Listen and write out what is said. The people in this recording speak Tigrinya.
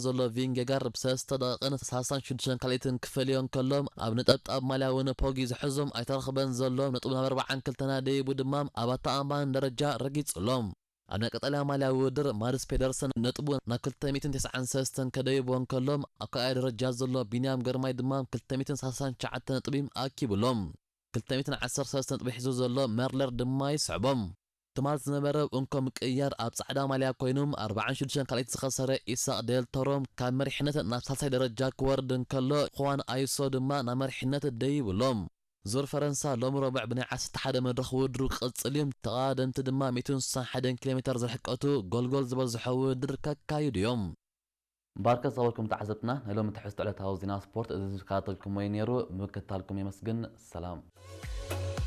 ዘሎ ቪንጌጋርድ ብሰለስተ ደቂቕን ሰላሳን ሽዱሽተን ካልኢትን ክፈልዮ እንከሎ፣ ኣብ ነጠብጣብ ማልያ እውን ፖጊ ዝሕዞም ኣይተረኽበን ዘሎ። ነጥቡ ናብ ኣርባዓን ክልተና ደይቡ ድማ ኣብ ኣተኣማማኒ ደረጃ ረጊጹ ኣሎ። ኣብ ናይ ቀጠልያ ማልያ ውድድር ማድስ ፔደርሰን ነጥቡ ናብ ክልተ ሚእትን ተስዓን ሰለስተን ከደይቦ እንከሎ፣ ኣብ ካልኣይ ደረጃ ዘሎ ቢንያም ግርማይ ድማ ክልተ ሚእትን ሰላሳን ትሽዓተ ነጥቢ ኣኪቡ ኣሎ። ክልተ ሚእትን ዓሰርተ ሰለስተ ነጥቢ ሒዙ ዘሎ መርለር ድማ ይስዕቦ። ትማል ዝነበረ እንኮ ምቅይያር ኣብ ጻዕዳ ማልያ ኮይኑ ኣርባዓን ሽዱሽተን ካልኢት ዝኸሰረ ኢሳቅ ዴል ቶሮ ካብ መሪሕነት ናብ ሳልሳይ ደረጃ ክወርድ እንከሎ፣ ኹዋን ኣይሶ ድማ ናብ መሪሕነት ደይቡ ኣሎ። ዙር ፈረንሳ ሎሚ ረቡዕ ብናይ ዓሰርተ ሓደ መድረኽ ውድድሩ ክቕጽል እዩ። ተቐዳደምቲ ድማ ሚእትን ስሳን ሓደን ኪሎ ሜተር ዝርሕቀቱ ጎልጎል ዝበዝሖ ውድድር ከካይዱ እዮም። ባርከት ዝኸበርኩም ተዓዘብትና፣ ናይ ሎሚ ትሕዝቶ ዕለታዊ ዜና ስፖርት እዚ ዝከታተልኩሞ እዩ ነይሩ። ብምክትታልኩም የመስግን። ሰላም።